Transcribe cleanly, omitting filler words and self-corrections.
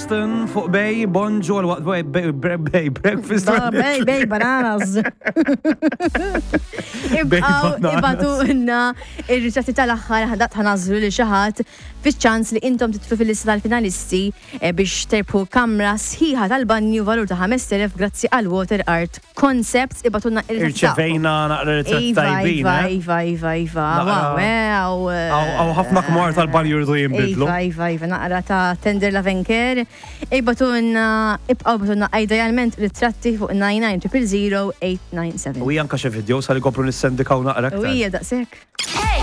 Johnston fuq Bay, bonġu għal waqt Bay, Bay, Bay, Breakfast. Bay, Bay, bananas. Ibqaw, ibatu inna ir-ritratti tal-aħħar ħadat ħanażlu li xaħat fiċ-ċans li intom titlu fil-lista tal-finalisti eh, biex terbħu kamra sħiħa tal-banju valur ta' 5000 grazzi għal Water Art Concepts ibatunna Irċevejna naqra ritratti iva, tajbin. Iva, eh? iva, iva, iva. Wow, eh, Għaw ħafna kmar tal-banju jridu jinbidlu. Iva, iva, iva, naqra ta' Tender Lavenker. Ibatunna, ibqaw batunna idealment ritratti fuq 99 000 897. U janka xe video sal kopru nissendikaw naqra. U hija daqshekk.